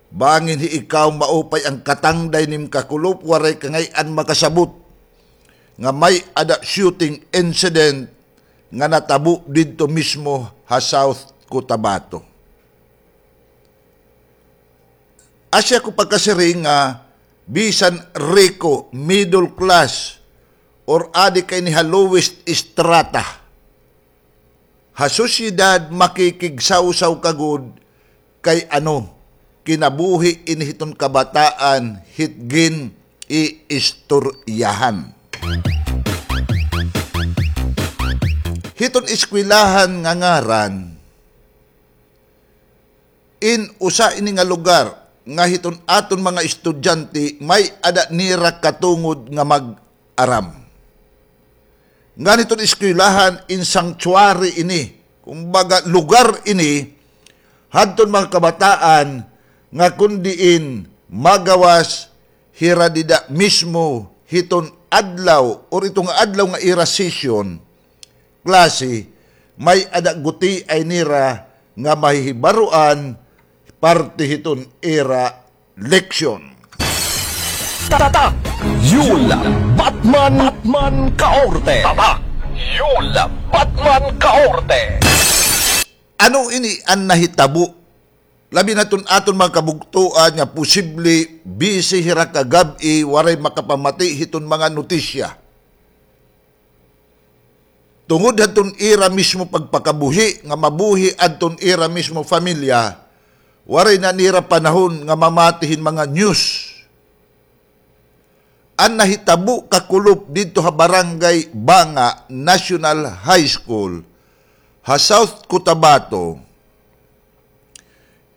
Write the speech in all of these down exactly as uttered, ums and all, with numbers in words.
Bangin hi ikaw maupay an katangday nim kakulop, waray ka ngay-an makasabot nga may-ada shooting incident nga natabo didto mismo ha South Cotabato. Asya ko pagkasiring nga bisan riko, middle class, or adi ka ini ha lowest strata ha sosyedad, makikigsawsaw ka gud kay ano, kinabuhi ini hiton kabataan hit gin-iistoryahan. Hiton eskwelahan nga ngaran, in usa ini nga lugar nga hiton aton mga estudyante may-ada nira katungod nga mag-aram. Ngan hiton eskwelahan in sanctuary ini, kumbaga lugar ini hadton mga kabataan nga kon diin magawas hira dida mismo hiton adlaw or ito nga adlaw nga ira session, klase, may-ada gutiay nira nga mahihibaroan parte hiton ira leksyon. Tatak Yul Batman, Batman Kaorte. Tatak Yul Batman Kaorte. Ano ini an nahitabo? Labi na ton aton mga kabugtoan nga posible busy hira kagab-i, waray makapamati hiton mga notisya. Tungod hadton ira mismo pagpakabuhi nga mabuhi adton ira mismo pamilya, waray na nira panahon nga mamati hin mga news. An nahitabo kakulop didto ha Barangay Banga National High School ha South Cotabato,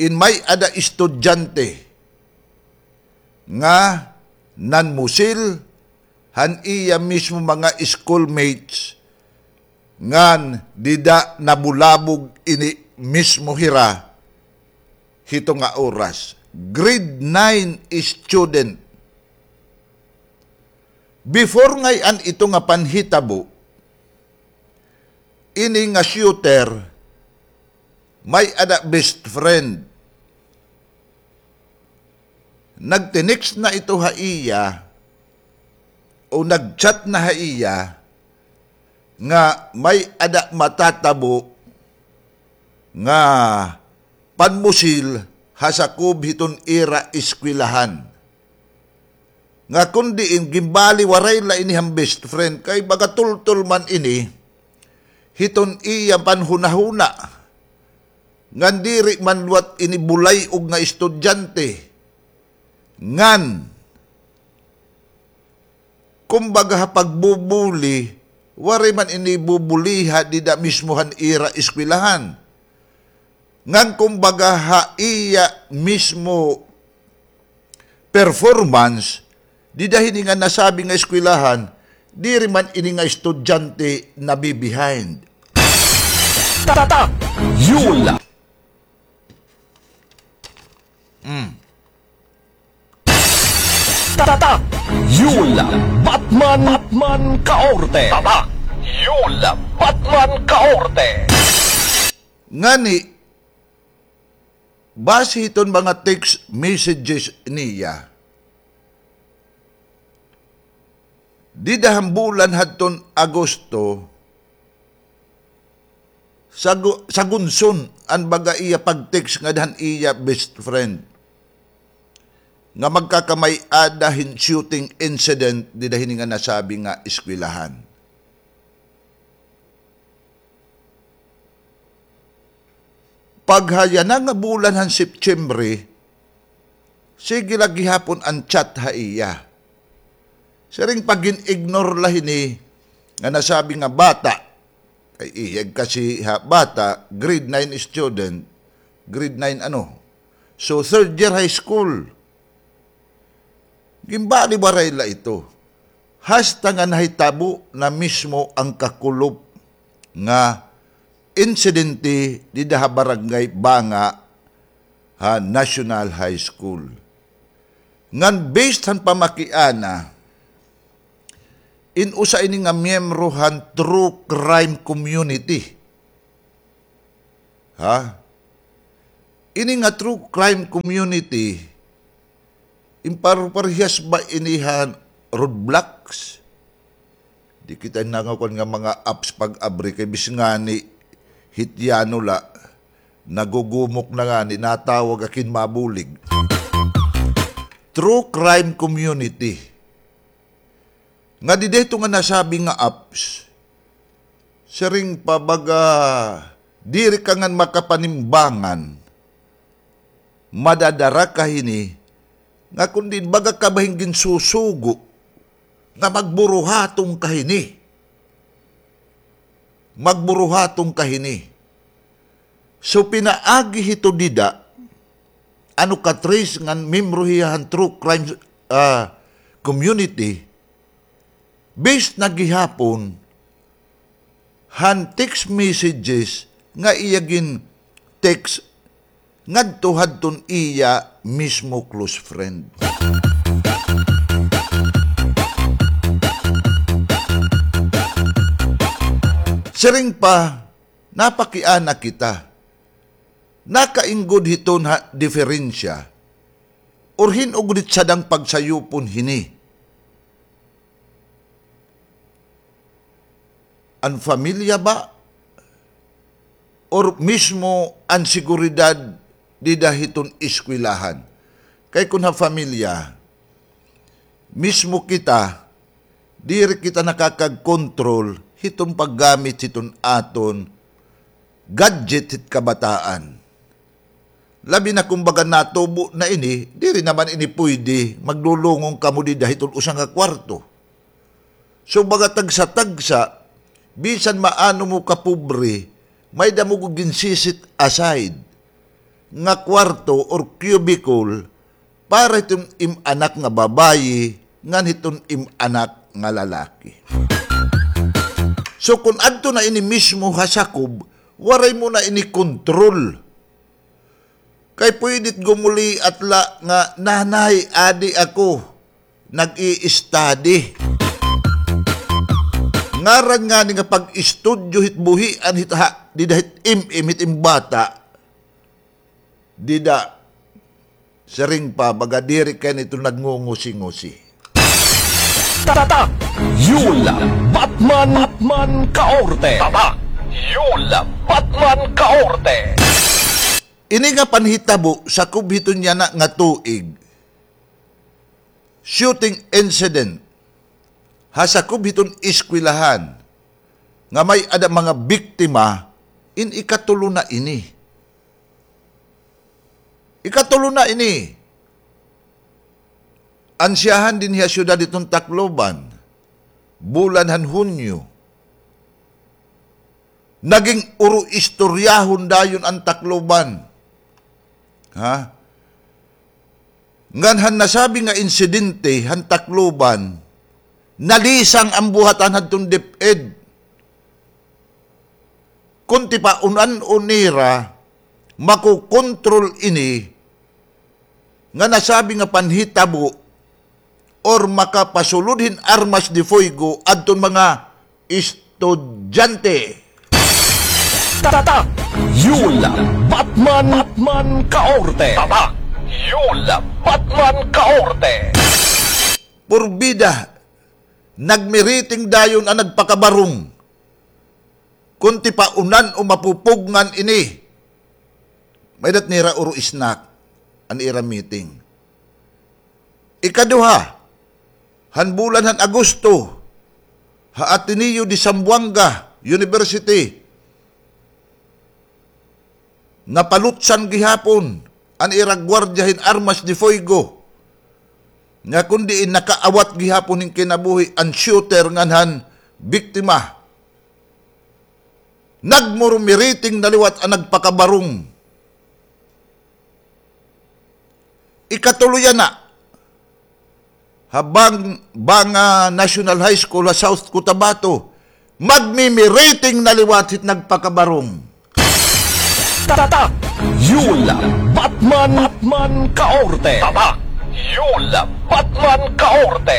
in may-ada estudyante nga nanmusil han iya mismo mga schoolmates ngan dida nabulabog ini mismo hira hito nga oras. Grade nine student. Before ngay-an ito nga panhitabo, ini nga shooter, may-ada best friend. Nagtinext na ito ha iya o nagchat na ha iya nga may-ada matatabo nga panmusil ha sakob hiton ira eskwelahan. Nga kon diin ginbaliwaray la ini han best friend, kay baga tultol man ini hiton iya panhunahuna. Ngan diri man liwat ini bulay-og nga estudyante. Ngan kumbaga ha pagbubuli, waray man ini bubuliha dida mismo han ira eskwelahan. Ngan kumbaga ha iya mismo performance, dida hini nga nasabi nga eskwelahan, diri man ini nga estudyante nabi-behind. Tatak Yul. Mm. Tatak Yul Batman, Batman Kaorte. Tatak Yul Batman Kaorte. Ngani, base hiton mga text messages niya, dida han bulan hadton Agosto, sagu-, sagunson an baga iya pag-text ngada han iya best friend nga magkakamay-ada hin shooting incident dida hini nga nasabi nga eskwelahan. Pagha yana nga bulan han September, sige la gihapon an chat ha iya. Siring pa gin-ignore la hini nga nasabi nga bata. Kay iya kasi ha bata, grade nine student, grade nine ano. So, third year high school. Ginbaliwaray la ito. Hasta nga nahitabo na mismo an kakulop nga insidente dida ha Barangay Banga ha National High School. Ngan based han pamakiana, in usa ini nga miyembro han true crime community. Ha? Ini nga true crime community, in par-, parehas ba ini han roadblocks? Di kita nangakuan nga mga apps pag-abri kay bis ngani hityano la, nagugumok na ngani, natawag akin mabulig. True crime community. Nga dida hito nga nasabi nga apps, siring pa baga, diri ka ngan makapanimbangan, madadara ka hini, nga kundi baga ka ba hin ginsusugo, nga magburuhaton ka hini. Magburuhaton ka hini. So, pinaagi hito dida, ano ka trace ngan membro hiya han true crime, ah, community, based na gihapon han text messages nga iya gin-text ngadto hadton iya mismo close friend. Siring pa, napakiana kita. Nakainggod hiton ha diferensya, or hin-o gud it sadang pagsayupon hini? An pamilya ba? Or mismo an seguridad dida hiton eskwelahan? Kay kon ha pamilya, mismo kita, diri kita nakakagkontrol hiton paggamit hiton aton gadget hit kabataan. Labi na kon baga natubo na ini, diri naman ini puyde, maglulungong kamo dida hiton usa nga kwarto. So, baga tagsa-tagsa, bisan maano mo kapobre, may-ada mo gud ginsi-set aside nga kwarto or cubicle para hiton im anak nga babayi ngan hiton im anak nga lalaki. So, kon adto na ini mismo ha sakob, waray mo na ini kontrol. Kay puyde it gumuliat la nga, "Nanay, adi ako, nag-i-study." Ngaran ngani nga pag-istudyo hit buhian hit ha, dida hit im-im hit im bata. Dida, siring pa, baga diri kay nito nagngungusi-ngusi. Tatak! Yul Batman, Batman Kaorte! Tatak! Yul Batman Kaorte! Ini nga panhitabo, sakob hiton yana nga tuig, shooting incident, ha sakob hiton eskwelahan, nga may-ada mga biktima, in ikatulo na ini. Ikatulo na ini. Ansyahan dinhi ha syudad hiton Tacloban, bulan han Hunyo. Naging uro-istoryahon dayon an Tacloban. Ha? Ngan han nasabi nga insidente han Tacloban, nalisang an buhatan hadton DepEd. Kon tipaon-an nira, makokontrol ini nga nasabi nga panhitabo or makapasulod hin armas de fuego adton mga estudyante. Tatak! Yul Batman, Batman Kaorte! Tatak! Yul Batman Kaorte! Purbida, nagmiriting dayon an nagpakabarong. Kon tipaon-an o mapupugngan ini, may-ada nira uro snack an ira meeting. Ikaduha, han bulan han Agosto, ha Ateneo de Zamboanga University, napalutsan gihapon an ira gwardiya hin armas de fuego, nga kon diin nakaawat gihapon hin kinabuhi an shooter ngan han biktima. Nagmurumiriting na liwat an nagpakabarong. Ikatulo yana, ha Bang-, Banga National High School ha South Cotabato, magmimiriting na liwat hit nagpakabarong. Tatak! Yul Batman, Batman Kaorte! Tatak! Yul Batman Kaorte!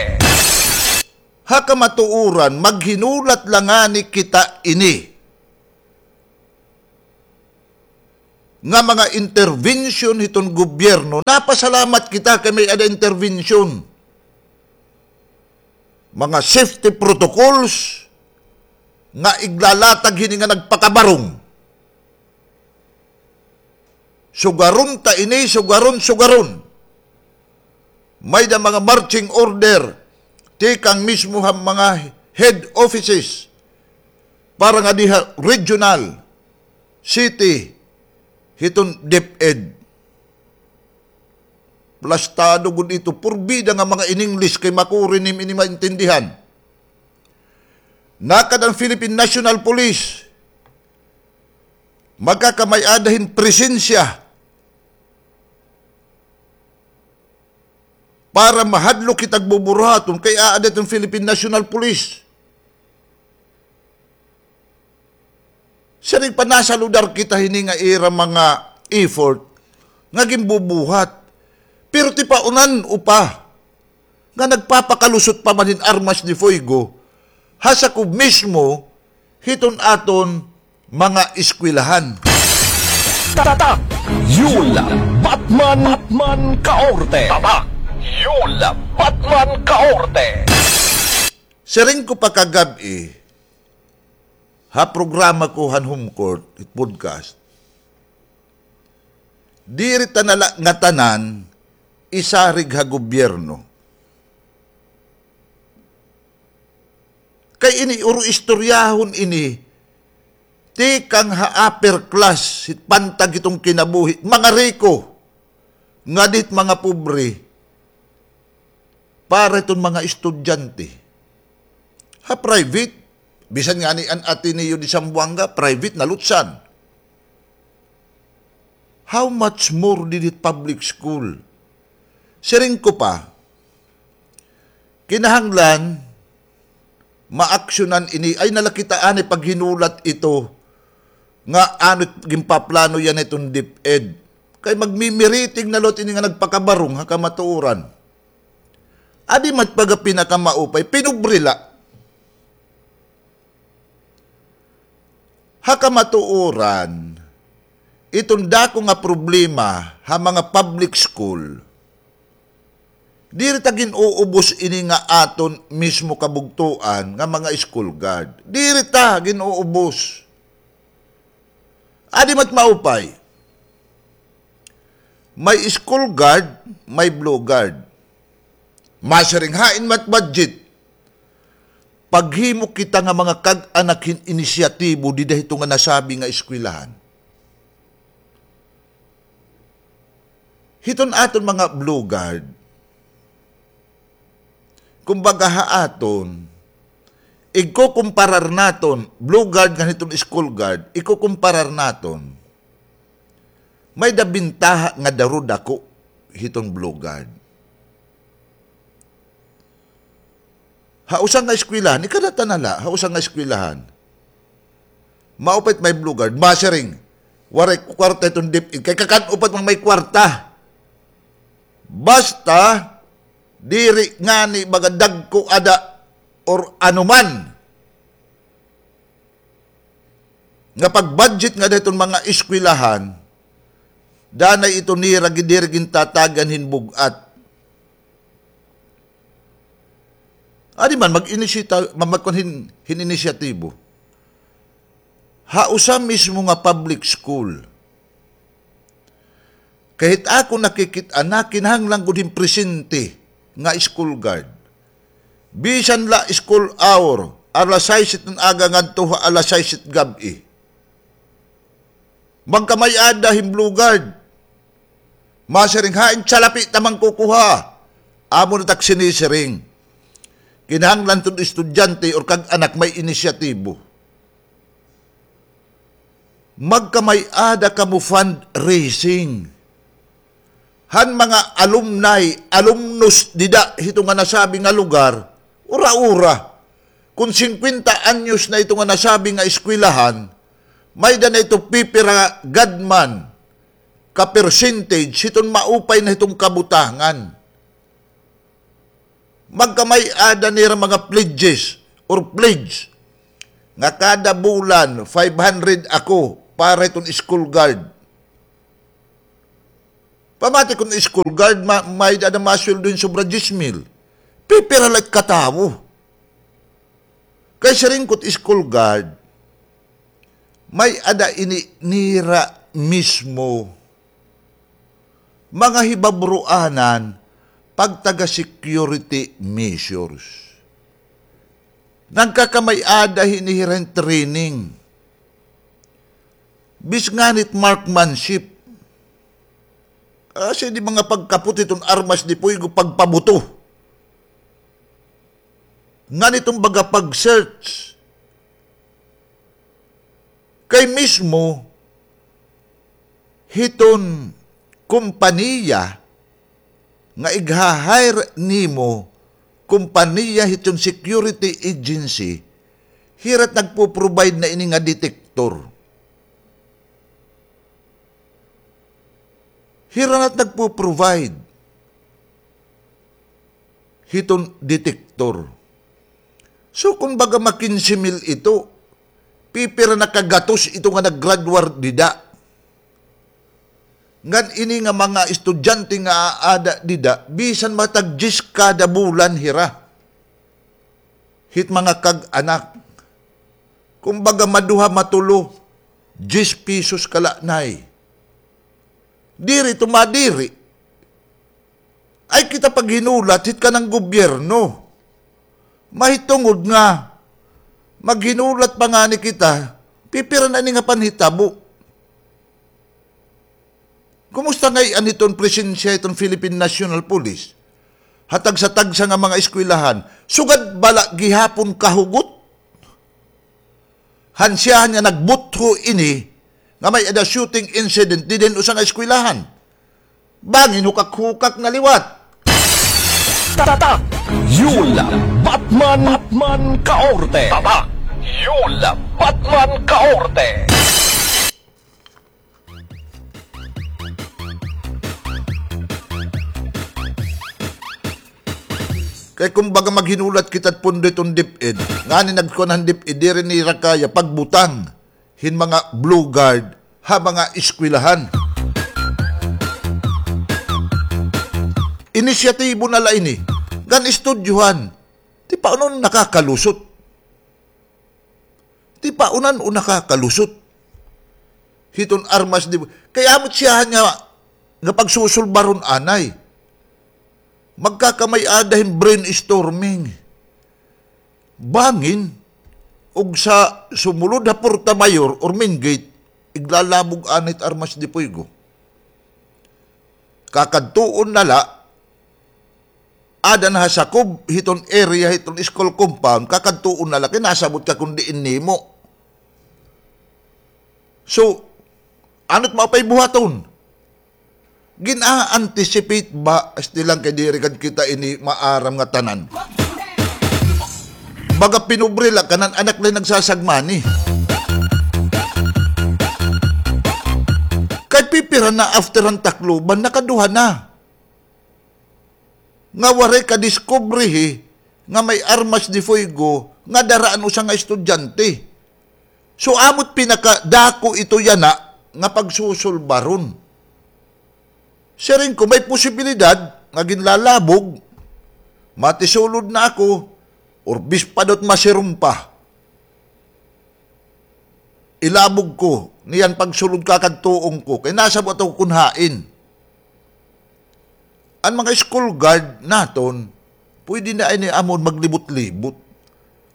Ha kamatuoran, maghinulat la ngani kita ini. nga mga intervention hiton gobyerno, napasalamat kita kay may-ada intervention. Mga safety protocols nga iglalatag hini nga nagpakabarong. Sugaron ta ini, sugaron, sugaron. May-ada mga marching order tikang mismo ha mga head offices para nga diha regional, city, hiton DepEd. Plastado gud ito, purbida nga mga in English kay makuri nim ini maintindihan. Nakad an Philippine National Police, magkakamay-ada hin presensya para mahadlok kita buburuhaton kay aada iton Philippine National Police. Siring pa, nasaludar kita hini nga ira mga effort nga ginbubuhat. Pero tipaunan-o pa nga nagpapakalusot pa man hin armas de fuego ha sakob mismo hiton aton mga eskwelahan. Tatak Yul Batman, Batman Kaorte. Tatak Yul Batman Kaorte. Siring ko pa kagab-i ha programa ko han Home Court, it podcast, diri ta na la ngatanan isarig ha gobyerno. Kay ini, uro istoryahon ini, tikang ha upper class, hit pantag hiton kinabuhi, mga riko, ngadi hit mga pobre, para hiton mga estudyante. Ha private, bisan ngani an Ateneo de Zamboanga, private, nalutsan. How much more didi hit public school? Siring ko pa, kinahanglan maaksyonan ini. Ay, na la kita anay paghinulat ito nga ano it ginpaplano yana hiton DepEd. Kay magmimiriting na liwat ini nga nagpakabarong ha kamatuoran. Adi man it baga pinakamaupay, pinobre la. Ha kamatuoran, iton dako nga problema ha mga public school, diri ta gin-uubos ini nga aton mismo kabugtoan nga mga school guard. Diri ta gin-uubos. Adi man it maupay. May school guard, may blue guard. Masiring, hain man it budget? Paghimo kita nga mga kag-anak hin inisyatibo dida hito nga nasabi nga eskwelahan. Hiton aton mga blue guard, kumbaga ha aton, igkukumparar naton, blue guard ngan hiton school guard, igkukumparar naton, may-ada bintaha nga daru dako hiton blue guard. Ha usa nga eskwelahan, ikadata na la, ha usa nga eskwelahan, maupay it may blue guard, masiring, waray kwarta hiton DepEd, kay kakan-o pa it mga may kwarta. Basta, diri ngani baga dagko ada or anuman nga pag-budget ngada hiton mga eskwelahan, danay ito nira gi-, diri gintatagan hin bug-at. Adi man, mag-inisita-, ma-, magkuan hin, hin inisyatibo. Ha usa mismo nga public school, kay hit akon nakikit-an, kinahanglan gud hin presente nga school guard. Bisan la school hour, alas sais hit aga ngadto ha alas sais hit gab-i. Magkamay-ada hin blue guard. Masiring, hain salapi ta mangkukuha? Amo na tak sinisiring. Kinahanglan hiton estudyante or kag-anak may inisyatibo. Magkamay-ada kamo fundraising. Han mga alumni, alumnus dida hito nga nasabi nga lugar, ura-ura. Kon singkwenta anyos na ito nga nasabi nga eskwelahan, may-ada na ito pipira gad man ka percentage hiton maupay na hiton kabutangan. Magkamay-ada nira mga pledges or pledge nga kada bulan, five hundred ako para hiton school guard. Pamati kon school guard, ma-, may-ada masweldo hin sobra diyes mil. Pipira la it katawo. Kay siring ko it school guard, may-ada ini nira mismo mga hibabruanan pagtaga security measures. Nagkakamay-ada hini hira hin training. Bis nganhi it marksmanship. Kasi di mga pagkapot hiton armas de fuego, pagpabuto. Ngan iton baga pag-search. Kay mismo hiton kompanya nga igha-hire nimo, kompanya hiton security agency, hira it nagpo-provide na ini nga detector. Hira na it nagpo-provide hiton detector. So, kon baga ma-kinse mil ito, pipira na ka gatos ito nga nag-graduar dida. Ngan ini nga mga estudyante nga aada dida, bisan matag diyes kada bulan hira hit mga kag-anak. Kumbaga, maduha, matulo, diyes pesos ka la, Nay. Diri ito madiri. Ay kita paghinulat hit kanan gobyerno. Mahitungod nga maghinulat pa ngani kita, pipira na ini nga panhitabo. Kumusta ngay-an hiton presensya hiton Philippine National Police ha tagsa-tagsa nga mga eskwelahan? Sugad bala gihapon kahugot han siyahan nga nagbutho ini nga may-ada shooting incident dida hin usa nga eskwelahan. Bangin hukak-hukak na liwat. Tatak Yul Batman, Batman Kaorte. Tatak Yul Batman Kaorte. Kay kumbaga maghinulat kita pondo hiton DepEd. Ngani nagkuan han DepEd, diri nira kaya pagbutang hin mga blue guard ha mga eskwelahan. Inisyatibo na la ini. Ngan istudyohan. Ti paano nakakalusot? Ti paano nakakalusot hiton armas de fuego? Kay amo it siyahan nga, nga pagsusulbaron anay. Magkakamay-ada hin brainstorming. Bangin, ug sa sumulod ha Porta Mayor or main gate, iglalabog anay it armas de fuego. Kakadtuon na la, ada na ha sakob hiton area hiton school compound, kakadtuon na la kay nasabot ka kon diin nimo. So, ano it maupay buhaton? Gin-a-anticipate ba, asti lang kay diri gad kita ini maaram nga tanan. Baga pinobre la, kanan anak la nagsasagmani. Kay pipira na after han Tacloban, nakaduha na nga waray kadiskubrihi nga may armas de fuego nga dara an usa nga estudyante. So, amo it pinakadako ito yana nga pagsusulbaron. Siring ko, may posibilidad nga ginlalabog, matisulod na ako, or bisan pa daw it masirom pa. Ilabog ko niyan pagsulod kakadtuon ko, kay nasabot ako kon hain. An mga school guard naton, pwede na ini amon maglibot-libot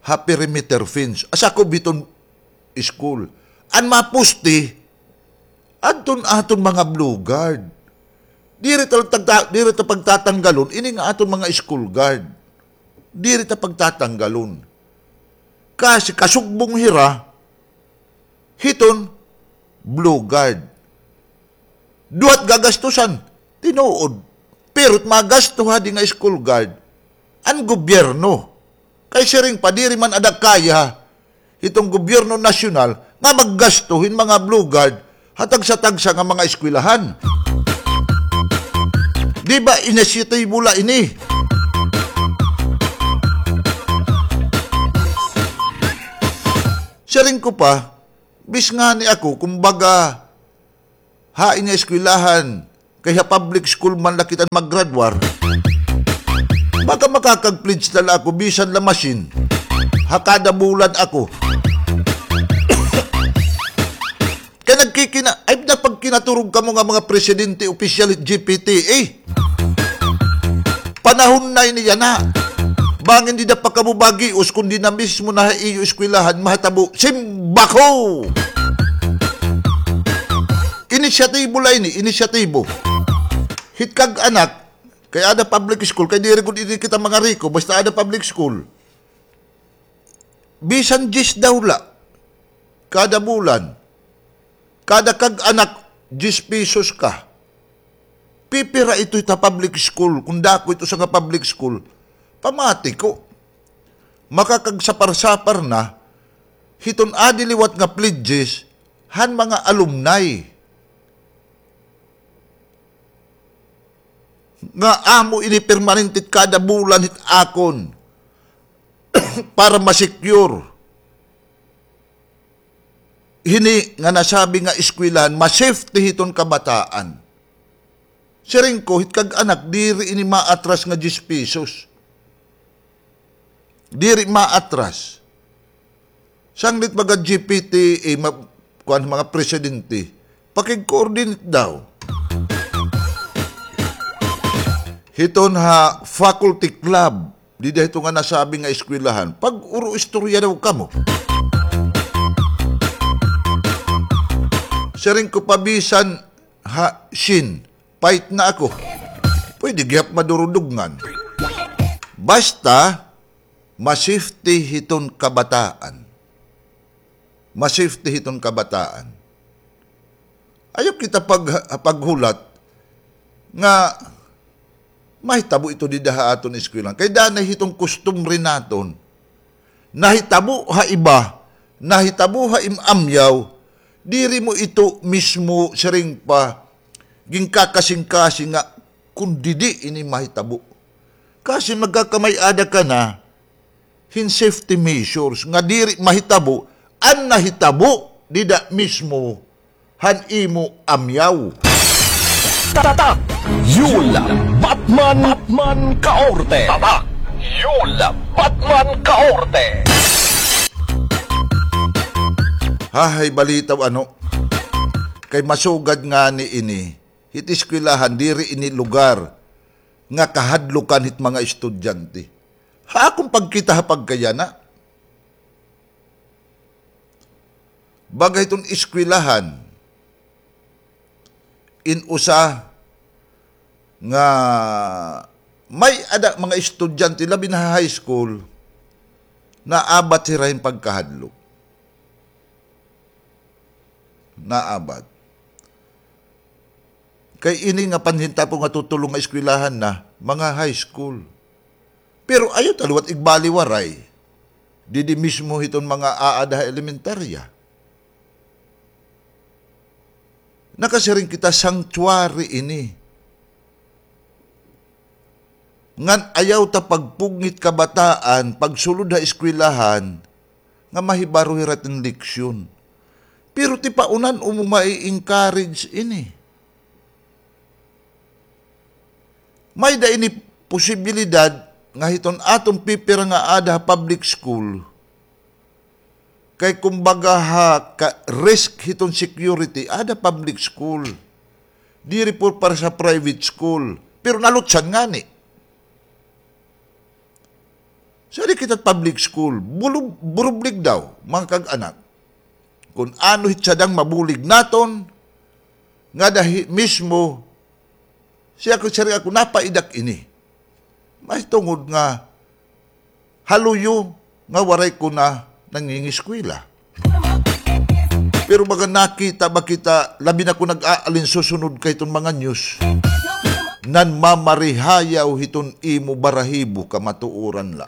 ha perimeter fence, ha sakob hiton school. An mga poste, adton aton mga blue guard. Diri ta, tagta-, diri ta pagtatanggalon ini nga aton mga school guard. Diri ta pagtatanggalon. Kasi kasugbong hira hiton blue guard. Duha it gagastusan, tinuod. Pero it magasto hadi nga school guard, an gobyerno. Kay siring pa, diri man ada kaya hiton gobyerno nasyonal nga maggasto hin mga blue guard ha tagsa-tagsa nga mga eskwelahan. Di ba inisyatibo la ini? Siring ko pa, bis ngani ako, kumbaga, hain nga eskwelahan, Kay ha public school man la kita maggraduar. Baka makakag-pledge na la ako, bisan la machine. Ha kada bulan ako. Kay nagkikina-, ay, napagkinaturog kamo nga mga presidente, opisyal, G P T, eh. Panahon na ini yana. Bangin dida pa kamo bagios, kundi na mismo na ha iyo eskwelahan, mahitabo, simbako! Inisyatibo la ini, inisyatibo. Hit kag-anak, kay ada public school, kay diri gud ini kita mangariko, basta ada public school. Bisan diyes daw la, kada bulan, kada kag-anak, diyes pesos ka. Pipira ito hit ha public school, kon dako ito sa nga public school. Pamati ko, makakagsapar-sapar na, hiton adi liwat nga pledges, han mga alumni. Nga amo ini permanente kada bulan hit akon para ma-secure hini nga nasabi nga eskwelahan, ma-safety hiton kabataan. Siring ko, hit kag-anak, diri ini maatras nga diyes pesos. Diri maatras. Sanglit mga G P T, eh, ma-, kuan, mga presidente, pakig-coordinate daw. Hiton ha faculty club, dida hito nga nasabi nga eskwelahan, pag-uro istorya daw kamo. Siring ko, pabisan ha Shin, fight na ako. Pwede gihap madurudugngan. Basta, ma-safety hiton kabataan. Ma-safety hiton kabataan. Ayaw kita pag-, paghulat nga mahitabo ito dida ha aton eskwelahan. Kay danay hiton kustumbre naton. Nahitabo ha iba, nahitabo ha im-amyaw, diri mo ito mismo siring pa, ginkakasingkasing nga kon didi ini mahitabo. Kasi magkakamay-ada ka na hin safety measures nga diri mahitabo an nahitabo dida mismo han imo amyaw. Tatak Yul Batman, Batman Kaorte. Tatak Yul Batman Kaorte. Hahay balitaw ano. Kay masugad ngani ini, hit eskwelahan diri ini lugar nga kahadlukan hit mga estudyante. Ha akon pagkita ha pagkayana. Baga hiton eskwelahan, in usa nga may-ada mga estudyante, labi na ha high school, naabat hira hin pagkahadlok. Naabat. Kay ini nga panhintapo nga tutulo nga eskwelahan na, mga high school. Pero ayaw ta liwat igbaliwaray. Didi mismo hiton mga aada ha elementarya. Nakasiring kita, sanctuary ini. Ngan ayaw ta pagpugngit kabataan, pagsulod ha eskwelahan, nga mahibaro hira tin leksyon. Pero ti paunan-o mo mai-encourage ini. May-ada ini posibilidad nga hiton aton pipira nga aada ha public school. Kay kumbaga ha ka-, risk hiton security, aada public school. Diri por para sa private school. Pero nalutsan ngani. Sa di kita public school, bulub-, burublig daw, mga kag-anak. Kun ano hit sadang mabulig naton, nga dahi mismo, siya ko, siring ako, napaidak ini. Mahitungod nga haluyo nga waray ko na nangingiskwela. Pero baga nakita ba kita, labi na kon nag-aalin susunod kay iton mga news, nanmamarihayaw hiton imo barahibo, kamatuoran la.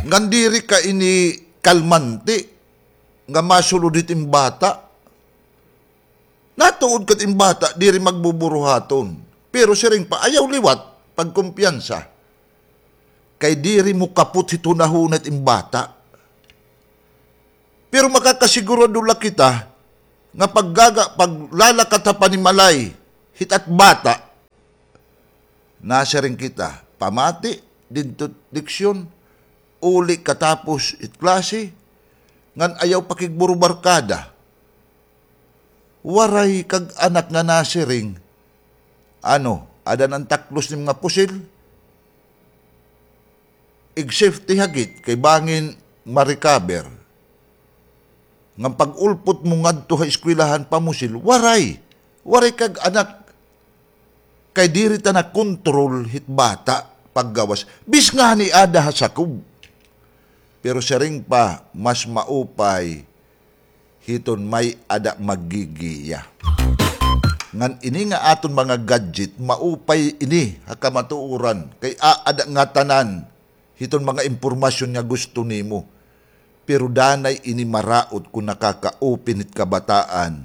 Ngan diri ka ini kalmante nga masulod hit im bata. Natuod kat im bata, diri magbuburuhaton. Pero siring pa, ayaw liwat pagkumpiyansa. Kay diri mo kapot hit hunahuna it im bata. Pero makakasigurado la kita nga paggaga, paglalakat ha panimalay hit at bata, nasiring kita, pamati didto leksyon, uli katapos it klase, ngan ayaw pakigburubarkada. Waray kag anak nga nasiring, ano, ada na an taklos nim nga pusil? Ig-safety hagit kay bangin ma-recover. Ngan pag-ulpot mo ngadto ha eskwelahan pamusil, waray. Waray kag anak. Kay diri ta nakontrol hit bata paggawas. Bis ngani ada ha sakob. Pero siring pa, mas maupay hiton may-ada maggigiya. Ngan ini nga aton mga gadget, maupay ini ha kamatuoran, kay aada ngatanan hiton mga impormasyon nga gusto nimo. Pero danay ini maraot kon nakaka-open hit kabataan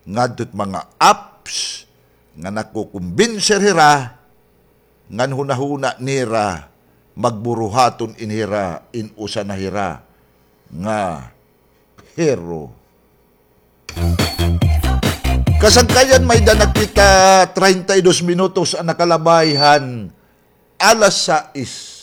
ngadto hit mga apps nga nakukumbinser hira, ngan hunahuna nira, magburuhaton ini hira, in usa na hira nga hero. Kasangkayan, may-ada na kita treinta y dos minutos an nakalabay han alas sais.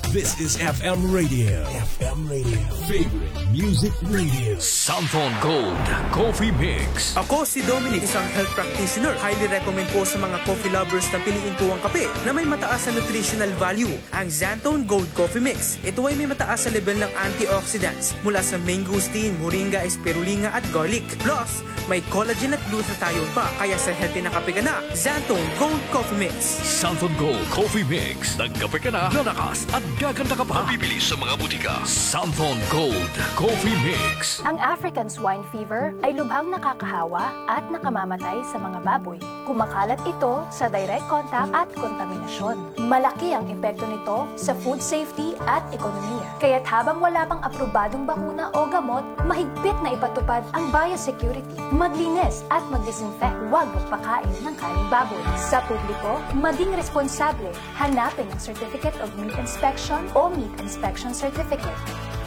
This is F M Radio. F M Radio. Favorite music radio. Santhon Gold Coffee Mix. Ako si Dominic, isang health practitioner. Highly recommend po sa mga coffee lovers na piliin po ang kape na may mataas na nutritional value, ang Xanthone Gold Coffee Mix. Ito ay may mataas na level ng antioxidants mula sa mangosteen, moringa, spirulina at garlic. Plus, may collagen at glutathione pa, kaya sa healthy na kape ka na, Xanthone Gold Coffee Mix. Santhon Gold Coffee Mix. Nagkape ka na, lalakas at gaganda ka pa. Mabibili sa mga butika. Santhon Gold Coffee Mix. Ang African Swine Fever ay lubhang nakakahawa at nakamamatay sa mga baboy. Kumakalat ito sa direct contact at kontaminasyon. Malaki ang epekto nito sa food safety at ekonomiya. Kaya't habang wala pang aprobadong bakuna o gamot, mahigpit na ipatupad ang biosecurity. Maglinis at mag-disinfect. Huwag magpakain ng karneng baboy. Sa publiko, maging responsable. Hanapin ang Certificate of Meat Inspection o Meat Inspection Certificate.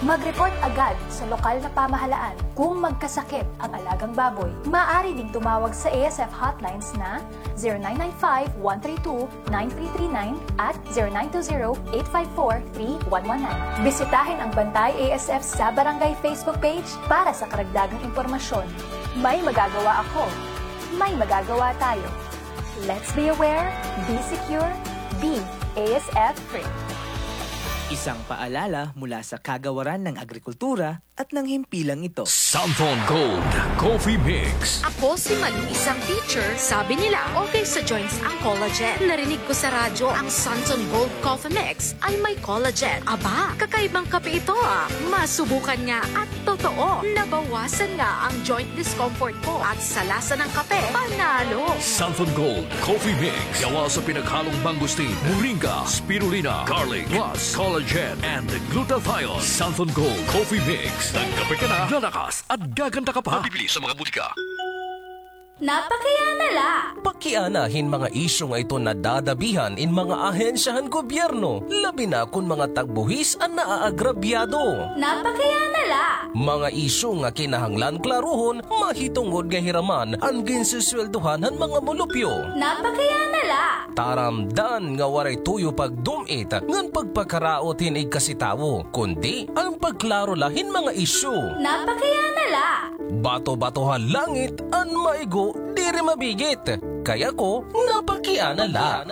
Mag-report agad sa lokal na pamahalaan kung magkasakit ang alagang baboy. Maaari ding tumawag sa A S F hotlines na zero nine nine five, one three two, nine three three nine at zero nine two zero, eight five four, three one one nine. Bisitahin ang Bantay A S F sa Barangay Facebook page para sa karagdagang impormasyon. May magagawa ako. May magagawa tayo. Let's be aware, be secure, be A S F free. Isang paalala mula sa Kagawaran ng Agrikultura at ng himpilang ito. Santhon Gold Coffee Mix. Ako si Malu, isang teacher. Sabi nila, okay sa joints ang collagen. Narinig ko sa radyo ang Santhon Gold Coffee Mix ay may collagen. Aba, kakaibang kape ito, ah. Masubukan nga at totoo, nabawasan nga ang joint discomfort ko at sa lasa ng kape, panalo. Santhon Gold Coffee Mix. Gawa sa pinaghalong mangosteen, moringa, spirulina, garlic, plus collagen and glutathione. Santhon Gold Coffee Mix. Nagkape ka na, lalakas at gaganda ka pa. Mabibili sa mga butika. Napakiana la. Pakiana hin mga isyu nga ito nadadabihan in mga ahensya han gobyerno, labi na kon mga tagbuhis an naaagrabyado. Napakiana la. Mga isyu nga kinahanglan klarohon mahitungod nga hiraman an ginsusweldohan han mga mulupyo. Napakiana la. Taramdan nga waray tuyo pagdum-it ngan pagpakaraot hin igkasi tawo, kundi an pagklaro la hin mga isyu. Napakiana la. Bato-bato ha langit, an maigo diri mabigit. Kay ako, napakiana la.